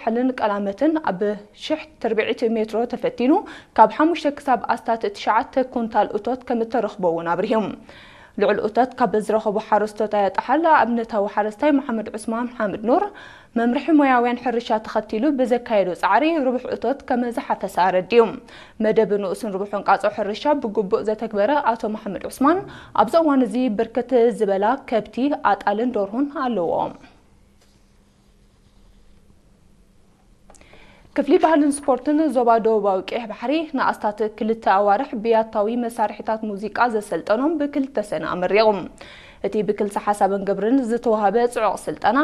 ዛሕልን ቀላመትን ኣብ ሽሕ ትርብዒት ሜትሮ ተፈቲኑ ካብ ሓሙሽተ ክሳብ ኣስታት ትሽዓተ ኩንታል እቶት ከም እተረኽቦ እውን ኣብሪሁ። ልዑል እቶት ካብ ዝረኸቡ ሓረስቶት ኣያጣሓል ኣብነታዊ ሓረስታይ መሓመድ ዑስማን ሓምድ ኑር መምርሒ ሞያውያን ሕርሻ ተኸቲሉ ብዘካየዶ ጻዕሪ ርቡሕ እቶት ከም ዝሓፈሰ ኣረዲኡ። መደብ ንኡስን ርቡሕን ቃጾ ሕርሻ ብግቡእ ዘተግበረ ኣቶ መሓመድ ዑስማን ኣብዚ እዋን እዚ ብርክት ዝበላ ከብቲ፣ ኣጣልን ደርሁን ኣለዎ። ክፍሊ ባህልን ስፖርትን ዞባ ደቡባዊ ቀይሕ ባሕሪ ንኣስታት ክልተ ኣዋርሕ ብያታዊ መሳርሒታት ሙዚቃ ዘሰልጠኖም ብክልተ ሰነ ኣመሪቑ። እቲ ብክልተ ሓሳብን ግብርን ዝተዋህበ ጽዑቕ ስልጠና፣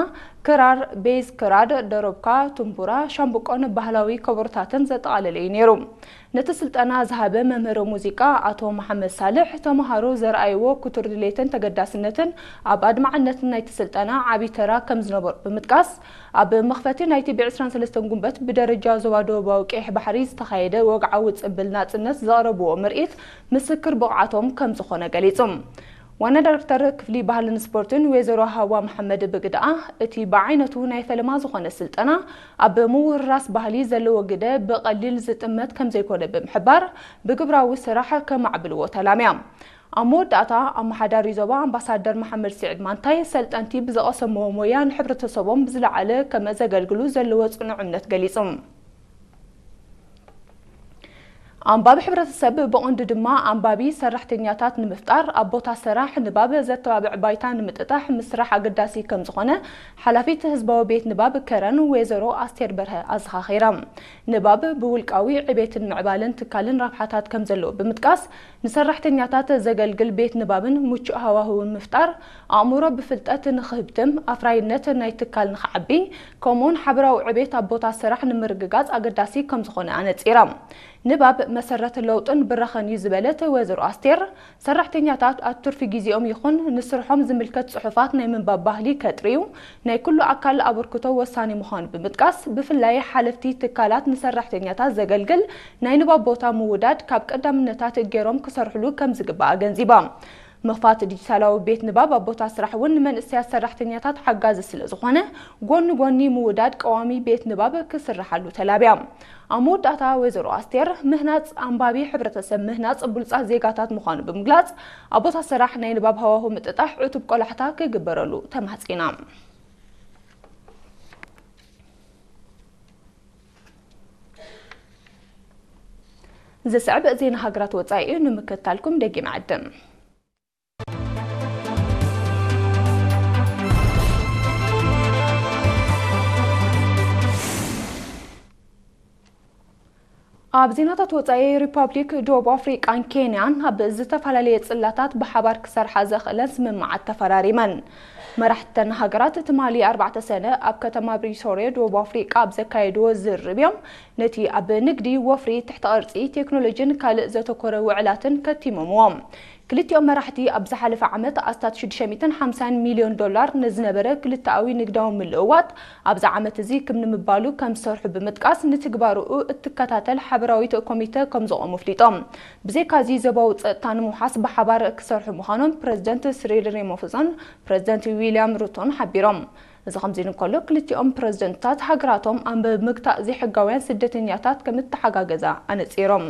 ክራር፣ ቤዝ፣ ክራድ፣ ደረብካ፣ ቱምቡራ፣ ሻምብቆን ባህላዊ ከበሮታትን ዘጠቓለለ እዩ ነይሩ። ነቲ ስልጠና ዝሃበ መምህር ሙዚቃ ኣቶ መሓመድ ሳልሕ፣ ተምሃሮ ዘርኣይዎ ክቱር ድሌትን ተገዳስነትን ኣብ ኣድማዕነት ናይቲ ስልጠና ዓቢ ተራ ከም ዝነበሮ ብምጥቃስ፣ ኣብ መኽፈቲ ናይቲ ብ ዕስራን ሰለስተን ጉንበት ብደረጃ ዞባ ደቡባዊ ቀይሕ ባሕሪ ዝተኻየደ ወግዓዊ ጽምብል ናጽነት ዘቕረብዎ ምርኢት ምስክር ብቕዓቶም ከም ዝኾነ ገሊጹ። ዋና ዳይሬክተር ክፍሊ ባህልን ስፖርትን ወይዘሮ ሃዋ መሓመድ ብግድኣ፣ እቲ ብዓይነቱ ናይ ፈለማ ዝኾነ ስልጠና ኣብ ምውርራስ ባህሊ ዘለዎ ግደ ብቐሊል ዝጥመት ከም ዘይኮነ ብምሕባር፣ ብግብራዊ ስራሕ ከማዕብልዎ ተላምያ። ኣብ መወዳእታ፣ ኣመሓዳሪ ዞባ ኣምባሳደር መሓመድ ስዒድ ማንታይ፣ ሰልጠንቲ ብዝቐሰምዎ ሞያ ንሕብረተሰቦም ብዝለዓለ ከም ዘገልግሉ ዘለዎ ጽኑዕ እምነት ገሊጹ። ኣንባቢ ሕብረተሰብ ብቐንዱ ድማ ኣንባቢ ሰራሕተኛታት ንምፍጣር ኣብ ቦታ ስራሕ ንባብ ዘተባብዕ ባይታ ንምጥጣሕ ምስራሕ ኣገዳሲ ከም ዝኾነ ሓላፊት ህዝባዊ ቤት ንባብ ከረን ወይዘሮ ኣስቴር በርሀ ኣዘኻኺራ። ንባብ ብውልቃዊ ዕቤትን ምዕባለን ትካልን ረብሓታት ከም ዘለዎ ብምጥቃስ፣ ንሰራሕተኛታት ዘገልግል ቤት ንባብን ምቹእ ሃዋህውን ምፍጣር፣ ኣእምሮ ብፍልጠት ንኽህብትም፣ ኣፍራይነት ናይ ትካል ንኽዓቢ፣ ከምኡውን ሓበራዊ ዕቤት ኣብ ቦታ ስራሕ ንምርግጋጽ ኣገዳሲ ከም ዝኾነ ኣነጺራ። ንባብ መሰረት ለውጥን ብራኸን እዩ ዝበለት ወይዘሮ ኣስቴር፣ ሰራሕተኛታት ኣብ ትርፊ ግዜኦም ይኹን ንስርሖም ዝምልከት ጽሑፋት ናይ ምንባብ ባህሊ ከጥርዩ ናይ ኩሉ ኣካል ኣበርክቶ ወሳኒ ምዃኑ ብምጥቃስ፣ ብፍላይ ሓለፍቲ ትካላት ንሰራሕተኛታት ዘገልግል ናይ ንባብ ቦታ ምውዳድ ካብ ቀዳምነታት ገይሮም ክሰርሕሉ ከም ዝግባእ ኣገንዚባ። ምኽፋት ዲጂታላዊ ቤት ንባብ ኣብ ቦታ ስራሕ እውን ንመንእሰያት ሰራሕተኛታት ሓጋዚ ስለ ዝኾነ፣ ጎኒ ጎኒ ምውዳድ ቀዋሚ ቤት ንባብ ክስርሓሉ ተላብያ። ኣብ መወዳእታ ወይዘሮ ኣስቴር፣ ምህናጽ ኣንባቢ ሕብረተሰብ ምህናጽ ብሉጻት ዜጋታት ምዃኑ ብምግላጽ፣ ኣብ ቦታ ስራሕ ናይ ንባብ ሃዋሁ ምጥጣሕ ዕቱብ ቆላሕታ ክግበረሉ ተማሕጺና። ዝስዕብ ዜና ሃገራት ወጻኢ እዩ፣ ንምክትታልኩም ደጊም ዕድም። ኣብ ዜናታት ወጻኢ፣ ሪፓብሊክ ደቡብ ኣፍሪቃን ኬንያን ኣብ ዝተፈላለየ ጽላታት ብሓባር ክሰርሓ ዘኽእለን ስምምዓት ተፈራሪመን። መራሕተን ሃገራት ትማሊ ኣርባዕተ ሰነ ኣብ ከተማ ፕሪቶርያ ደቡብ ኣፍሪቃ ኣብ ዘካየድዎ ዝርርብ እዮም ነቲ ኣብ ንግዲ፣ ወፍሪ፣ ትሕተ ቅርጺ፣ ቴክኖሎጂን ካልእ ዘተኮረ ውዕላትን ከቲሞምዎ። ክልቲኦም መራሕቲ ኣብ ዝሓለፈ ዓመት ኣስታት ሽዱሽተ ሚእትን ሓምሳን ሚልዮን ዶላር ንዝነበረ ክልተኣዊ ንግዳዊ ምልውዋጥ፣ ኣብዚ ዓመት እዚ ክም ንምባሉ ከም ዝሰርሑ ብምጥቃስ፣ ንትግባርኡ እትከታተል ሓበራዊት ኮሚተ ከም ዘቖሙ ኣፍሊጦም። ብዘይካዚ፣ ዞባዊ ጸጥታ ንምውሓስ ብሓባር ክሰርሑ ምዃኖም ፕረዚደንት ስሪል ሬማፎዛን ፕረዚደንት ዊልያም ሩቶን ሓቢሮም። እዚ ከምዚ ኢሉ እንከሎ፣ ክልቲኦም ፕረዚደንትታት ሃገራቶም ኣብ ምግታእ ዘይሕጋውያን ስደተኛታት ከም እተሓጋገዛ ኣነጺሮም።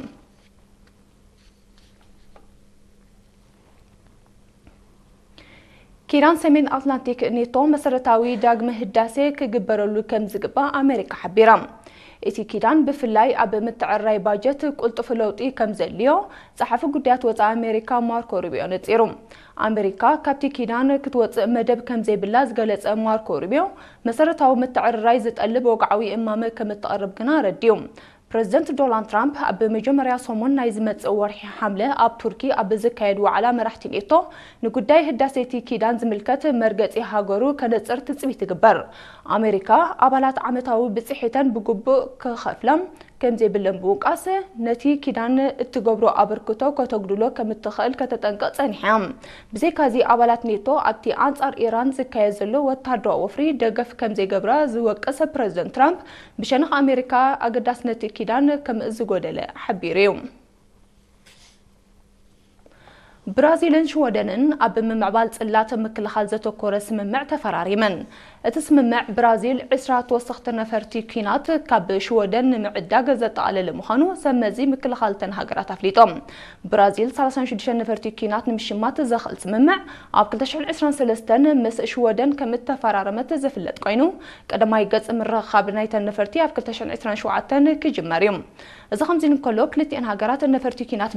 ኪዳን ሰሜን ኣትላንቲክ ኔቶ መሰረታዊ ዳግመ ህዳሴ ክግበረሉ ከም ዝግባእ ኣሜሪካ ሓቢራ። እቲ ኪዳን ብፍላይ ኣብ ምትዕርራይ ባጀት ቅልጡፍ ለውጢ ከም ዘድልዮ ጸሓፊ ጉዳያት ወጻኢ ኣሜሪካ ማርኮ ሩቢዮ ነጺሩ። ኣሜሪካ ካብቲ ኪዳን ክትወጽእ መደብ ከም ዘይብላ ዝገለጸ ማርኮ ሩቢዮ፣ መሰረታዊ ምትዕርራይ ዝጠልብ ወግዓዊ እማመ ከም እተቕርብ ግና ኣረዲኡ። ፕረዚደንት ዶናልድ ትራምፕ ኣብ መጀመርያ ሰሙን ናይ ዝመጽእ ወርሒ ሓምለ ኣብ ቱርኪ ኣብ ዝካየድ ዋዕላ መራሕቲ ኔቶ ንጉዳይ ህዳሴ እቲ ኪዳን ዝምልከት መርገጺ ሃገሩ ከነጽር ትጽቢት ይግበር። ኣሜሪካ ኣባላት ዓመታዊ ብጽሒተን ብግቡእ ክኸፍላ ከም ዘይብለን ብምውቃስ፣ ነቲ ኪዳን እትገብሮ ኣበርክቶ ከተጉድሎ ከም እትኽእል ከተጠንቅቕ ጸኒሓ እያ። ብዘይካዚ፣ ኣባላት ኔቶ ኣብቲ ኣንጻር ኢራን ዝካየድ ዘሎ ወተሃደራዊ ወፍሪ ደገፍ ከም ዘይገብራ ዝወቅስ ፕረዚደንት ትራምፕ፣ ብሸነኽ ኣሜሪካ ኣገዳስነት ኪዳን ከም ዝጎደለ ሓቢሩ እዩ። ብራዚልን ሽወደንን ኣብ ምምዕባል ጽላት ምክልኻል ዘተኮረ ስምምዕ ተፈራሪመን። እቲ ስምምዕ ብራዚል ዕስራ ተወሰኽቲ ነፈርቲ ኲናት ካብ ሽወደን ንምዕዳግ ዘጠቓለለ ምዃኑ ሰብ መዚ ምክልኻል እተን ሃገራት ኣፍሊጦም። ብራዚል ሰላሳ ሽዱሽተ ነፈርቲ ኲናት ንምሽማት ዘኽእል ስምምዕ ኣብ ክልተ ሽሕን ዕስራን ሰለስተን ምስ ሽወደን ከም እተፈራረመት ዝፍለጥ ኮይኑ፣ ቀዳማይ ገጽ ምርኻብ ናይተን ነፈርቲ ኣብ ክልተ ሽሕን ዕስራን ሸውዓተን ክጅመር እዩ። እዚ ከምዚ እንከሎ፣ ክልቲኣን ሃገራት ነፈርቲ ኲናት